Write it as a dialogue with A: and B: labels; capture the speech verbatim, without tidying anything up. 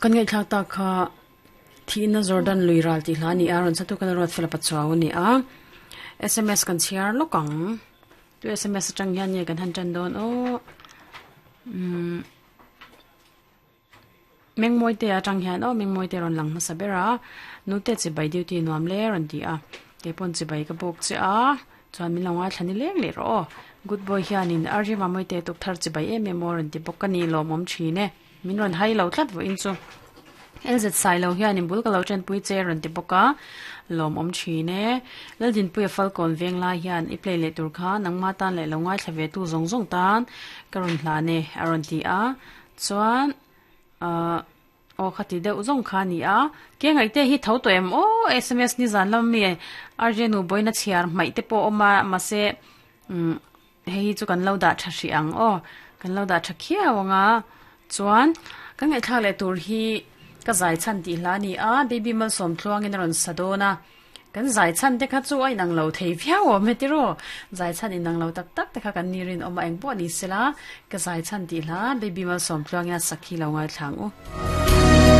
A: Kan ngai thlak ta kha thi na Jordan lui ral ti hla ni a ron satu kan rot fel pachaw ni a S M S kan chiar lokang tu S M S atang hian ye kan han tan don o um meng moi te atang hian o meng moi te ron lang hmasa bera nu te chi bai duty nuam le ron ti a ke pon chi bai ka bok che a chuan min longa thlani leng le ro good boy hianin arji ma moi te tuk thar chi bai em em ron ti bok kani lo mom thine min ron hai lo tlat vo in chu L Z sai lo hianin bul ka lo chen pui che ron ti boka lom om thine lal din pui falcon veng lai hian i play le tur kha nangma tan le lo ngai thlave tu zong zong tan karun hla ne aron ti a chuan a o khati deuh zong kha ni a ke ngai te hi tho to em o S M S ni zan lam mi arje nu boina chiar mai te po oma ma se um hei chu kan lo da tha hri ang o kan lo da tha khiawanga chuan kan ngai thla le tur hi ka zai chan ti hla ni a baby mal som thluang in ron sadona kan zai chan te kha chu ai nang lo thei viau o me ti ro zai chan in nang lo tak tak te kha kan ni rin oma eng po ni sela ka zai chan ti hla baby mal som thluang ya sakhi lo ngai thlang u.